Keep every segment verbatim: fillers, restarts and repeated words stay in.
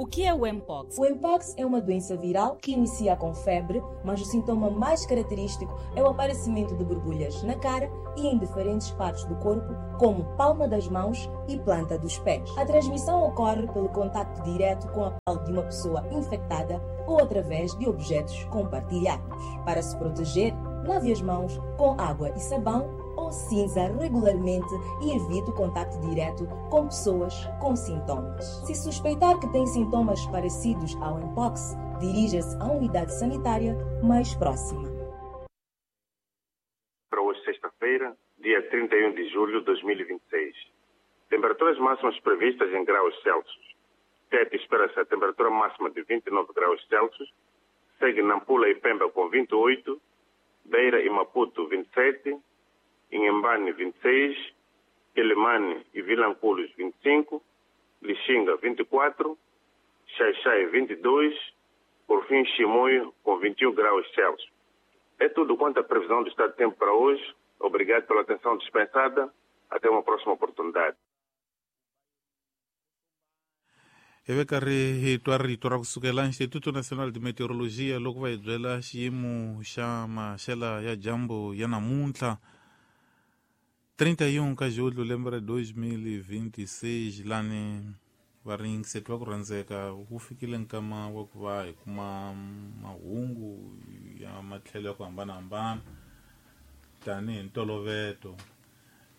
O que é o Mpox? O Mpox é uma doença viral que inicia com febre, mas o sintoma mais característico é o aparecimento de borbulhas na cara e em diferentes partes do corpo, como palma das mãos e planta dos pés. A transmissão ocorre pelo contacto direto com a pele de uma pessoa infectada ou através de objetos compartilhados. Para se proteger, lave as mãos com água e sabão ou cinza regularmente e evite o contacto direto com pessoas com sintomas. Se suspeitar que tem sintomas parecidos ao Mpox, dirija-se à unidade sanitária mais próxima. Para hoje, sexta-feira, dia trinta e um de julho de dois mil e vinte e seis. Temperaturas máximas previstas em graus Celsius. Tete espera-se a temperatura máxima de vinte e nove graus Celsius. Segue Nampula e Pemba com vinte e oito, Beira e Maputo vinte e sete, Inhambane vinte e seis, Quelimane e Vilanculos vinte e cinco, Lixinga vinte e quatro, Xaixai vinte e dois, por fim Chimoio com vinte e um graus Celsius. É tudo quanto à previsão do estado de tempo para hoje. Obrigado pela atenção dispensada. Até uma próxima oportunidade. Hi karhi hi twa rito ra kusukela Instituto Nacional de Meteorologia loko va hi byela xiyimo xa maxela ya dyambu ya namuntlha trinta e um ka julho lembe ra dois mil e vinte e seis lani va ringiseti va ku rhandzeka wu fikile nkama wa ku va hi kuma mahungu ya matlhelo ya ku hambanahambana tanihi ntoloveto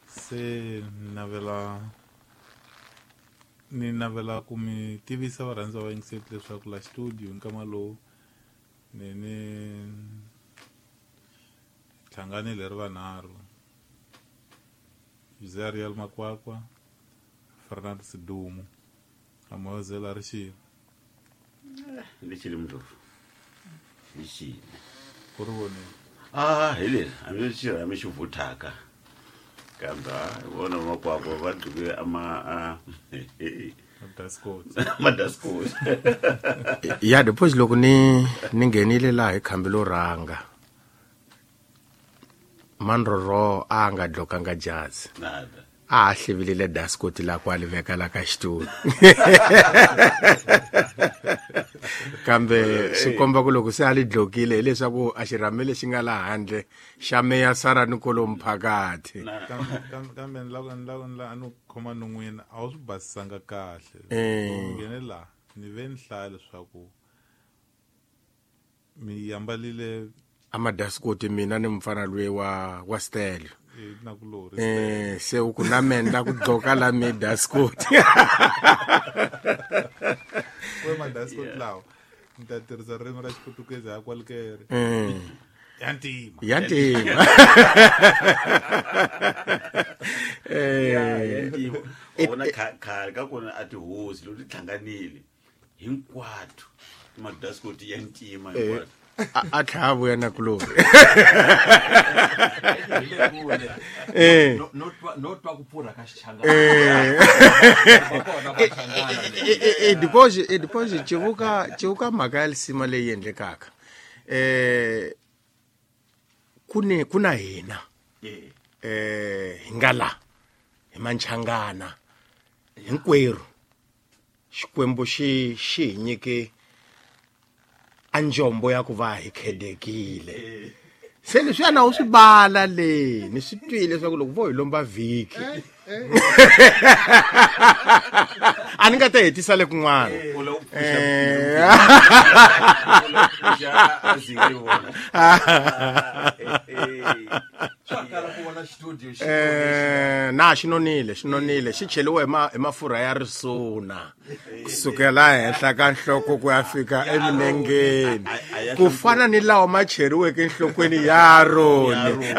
se navela ni navela ku mi tivisa varhandzi va yingiseti leswaku la studio nkama lowu ni ni hlanganile ri vanharhu José Ariel Makwakwa, Fernando Sidumo, Amozela Rixile. Rixile Mdlovu. Rixile. Ku ri vonile. Ah, hi leri hambi xirhami xi vuthaka. Kambe vona Makwakwa va gqoke ama madaskoti. Madaskoti. Ya depois loko ni ni nghenile laha hi khambi lo rhanga. Mandroro a nga dlokanga jazi. Nada. A hlevilile daskoti la kwa liveka la ka xitulu. Kambe swi komba ku loko se a li dlokile hileswaku a xirhami lexi nga la handle xa meya Sara Nikolo mphakathi. Kambe kambe ni lava ni lava ni lava no khoma non'wini a wu swi basisanga kahle. Eh. Nghene la ni ve ni hlaya leswaku mi ambalile amadaskoti mina ni mfana lwe wa wa Stelo. Eh, eh se u ku na menda ku gqoka la mi daskoti. We madaskoti lawo ni ta tirhisa ririmi ra Xiputukezi ya kwalikere. Eh. Ya ntima. Ya ntima. Eh, ya ntima. Vona khale ka kona a tihosi loko ti hlanganile hinkwato madaskoti ya ntima hinkwato. A tlhava vuya na kulori. Eh. No no twa ku pfurha ka xichangana. Eh. Eh depois depois civuka civuka mhaka ya lisima leyi endlekaka. Eh kune kuna hina. Eh hi nga la hi manchangana hinkwerhu. Xikwembu xi xi hi nyike anjombo ya ku va hi khedekile. Se leswi na u swi bala le ni swi twile leswaku loko vo hi lomba vhiki a ni nga ta hetisa le kun'wana. Eh na xi nonile xi nonile xi cheliwe hi mafurha ya risuna kusukela henhla ka nhloko ku ya fika emilengeni ku fana ni lawa ma cheriweke enhlokweni ya Aroni.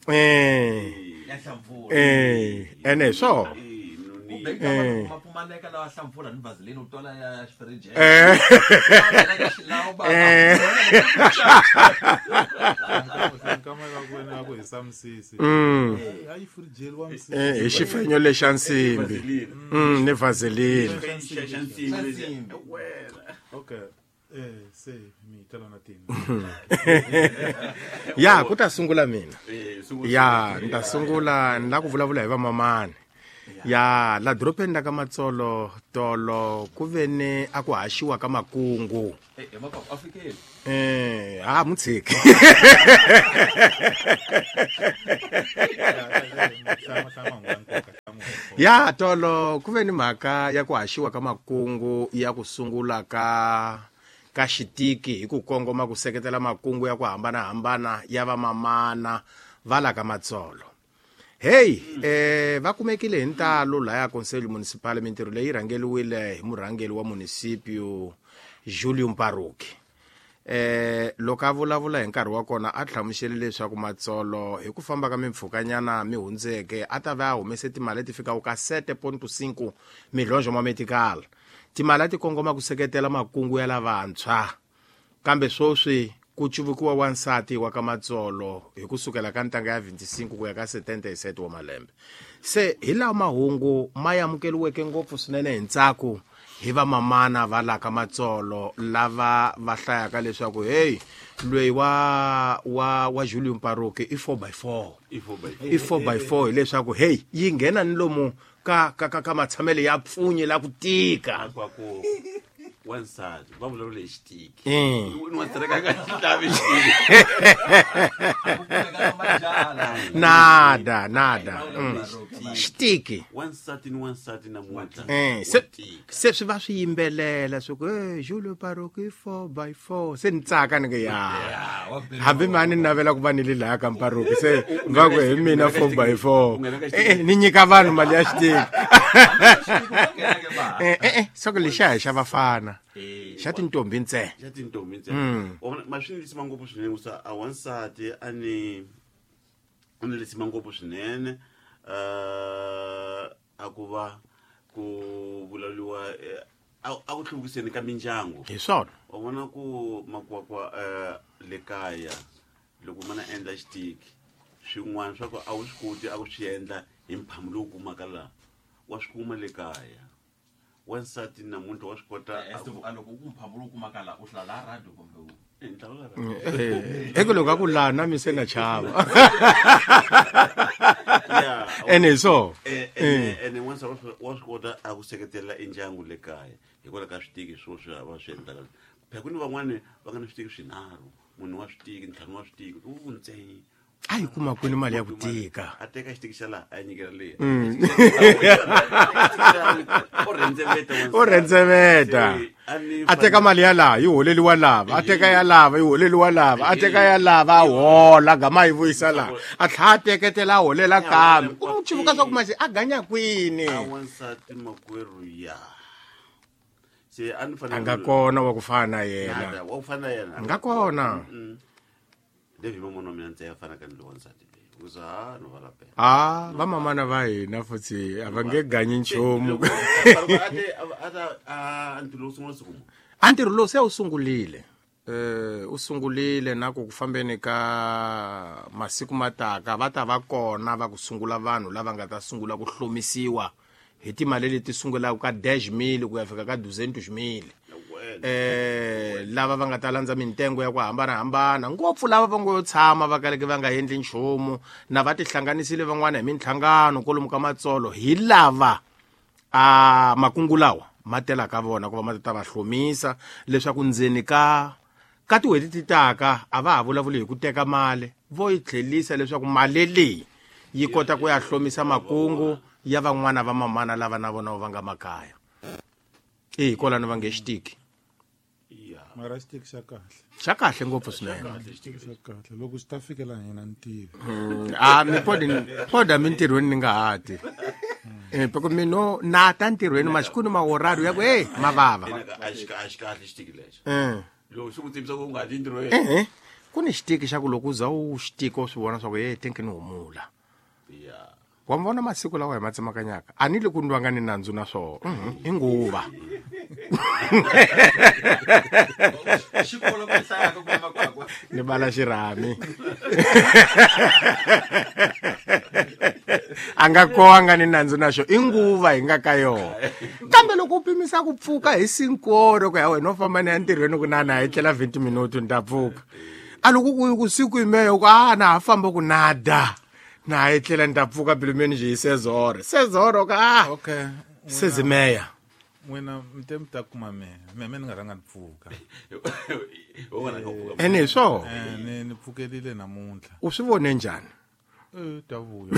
Eh eh ene so Eh. Mapumaleka lawa hlampfura ni vaseline u twala ya xifriji. Eh. Eh. Eh, hi xifenyo lexa nsimbi. Mm, ni vaseline. Okay. Eh se mi tala na tina. Ya ku ta sungula mina. Eh, sungula. Ya ni ta sungula ni la ku vulavula hi vamamani. Ya la doropeni la ka Matsolo tolo ku ve ni a ku haxiwa ka makungu. Eh, eh, Makwakwa, a fikile. Eh, a mu tshiki. Ya tolo ku ve ni mhaka ya ku haxiwa ka makungu ya ku sungula ka ka xitiki hi ku kongoma ku seketela makungu ya ku hambanahambana ya vamamana va la ka Matsolo. Hey, eh va kumekile hi ntalo laya Conselho Municipal mintirho leyi rhangeriwile hi murhangeri wa municipio Julio Mparuki. Eh loko a vulavula hi nkarhi wa kona a hlamusele leswaku Matsolo hi ku famba ka mimpfhukanyana mi hundzeke a ta va a humese timali leti fikaka ka sete ponto cinco milhonjo ma medical. Timali a ti kongoma ku seketela makungu ya lavantshwa. Kambe sweswi ku cuvukiwa wansati wa ka Matsolo hi kusukela ka ntanga ya vinte e cinco ku ya ka setenta e sete wa malembe. Se hi lawa mahungu ma amukeriweke ngopfu swinene hi ntsako hi vamamana va la ka Matsolo lava va hlayaka leswaku hey loyi wa wa wa Julio Mparuki i four by four. I four by four. I four by four hileswaku hey yi nghena ni lomu ka ka ka, ka matshamelo ya pfunye la ku tika. Makwakwa wansati va vulavula hi xitiki. Mm. Ni wansati ka nga xi lavi xitiki. Nada nada. Mm. Xitiki. Wansati ni wansati namuntlha. Eh, se wa tika. Se swi va swi yimbelela swi ku eh Julio Mparuki four by four se ni tsaka ni ku ya. Hambi mani ni navela ku va ni le laya ka Mparuki se va ku hi mina four by four. Eh ni nyika vanhu mali ya xitiki. Eh eh eh swa ku lexiya hi xa vafana. Xa tintombi ntsena. Xa tintombi ntsena. Wa vona, ma swi ni lisima ngopfu swinene ku sa a wansati a ni a ni lisima ngopfu swinene eh a ku va ku vulavuriwa eh, a a ku hluvukiseni ka mindyangu. Hi swona. Wa vona ku Makwakwa eh le kaya loko mana endla xitiki swin'wana swa ku a wu swi koti a ku swi endla hi mphamu lowu kumaka laha wa swi kuma le kaya. Wansati namuntlha wa swi kota a ku- A loko ku mphamu lowu kumaka laha u hlala laha radio kumbe u Eh, nhlawula ra- Eh eko loko a ku laha na mi se na chava. Yeah. Ene hi swona. Eh, ene ene wansati wa swi- wa swi kota a ku seketela endyangu le kaya hikwalaho ka switiki swo swi va swi endlaka. Phela ku ni van'wani va nga na switiki swinharhu, munhu wa switiki, ntlhanu wa switiki, u ntsena. A yi kuma kwini mali ya ku tika. A teka xitiki xa laha a ya nyikela leyi. O rhendzeveta wansati. O rhendzeveta. Se, a ni A teka mali ya laha yi holeliwa lava, a teka ya lava yi holeliwa lava, a teka ya lava a hola gama yi vuyisa laha. A tlhela a teketela a holela kambe. U n'wi tshivuka swa ku manje a ganya kwini. A wansati makwerhu ya. Se a ni fanele A nga kona wa ku fana na yena. Nada, wa ku fana na yena. A nga kona. Mm. David mamona wa mina ntsena a fanaka ni loyi wansati loyi. U za ha no va lapela. Ah, vamamana va hina futhi a va nge ganyi nchumu. Loko a te a ta a ntirho lowu sungula siku muni? A ntirho lowu se wu sungurile. Eh u sungurile na ku ku fambeni ka masiku mataka va ta va kona va ku sungula vanhu lava nga ta sungula ku hlomisiwa hi timali leti sungulaka ka dez mil ku ya fika ka duzentos mil. Eh lava va nga ta landza mintengo ya ku hambanahambana ngopfu lava va ngo yo tshama va kaleke va nga endli nchumu na va tihlanganisile van'wana hi minhlangano kwalomu ka Matsolo hi lava a makungu lawa ma telaka vona ku va ma ta va hlomisa leswaku ndzeni ka ka tin'hweti ti taka a va ha vulavuli hi ku teka mali vo yi tlhelisa leswaku mali leyi yi kota ku ya hlomisa makungu ya van'wana va mamana lava na vona va nga makaya. Eh kwalano va nge xitiki. Ya. Mara xitiki xa kahle. Xa kahle ngopfu swinene. Xitiki xa kahle loko xi ta fikela hina ni tivi. Mm, a mi podi poda mintirhweni ni nga ha ti. Eh poko mino na ta ntirhweni masiku ni mahorario ya ku hey mavava. Ene a xi a xi kahle xitiki lexo. Eh. Loko xi ku tivisa ku u nga ti ntirhweni. Eh ku ni xitiki xa ku loko u za u xitiki u swi vona swa ku hey thinki ni humula. Ya. Wa mi vona masiku lawa hi ma tsemakanyaka a ni le ku ndwanga ni nandzu na swona. Mhm, i nguva. Xikolo ku hlayaka ku makwakwa. Ni bala xirhami. A nga koanga ni nandzu na xo, i nguva hi nga ka yona. Kambe loko u pimisa ku pfuka hi sinkoro ku ya wena u famba ni ya ntirhweni ku na na hi tlela twenty minuto ni ta pfuka. A loko ku ku siku imeyo ku a na ha famba ku nada. Na hi tlela ni ta pfuka pilumeni hi sezoro. Sezoro ka a okay sezimeya. N'wina mi te mi ta kuma mehe me me ni nga rhanga ni pfuka. Ene hi swona. Eh, ni ni pfukelile namuntlha. U swi vone njhani? Eh, ta vuya.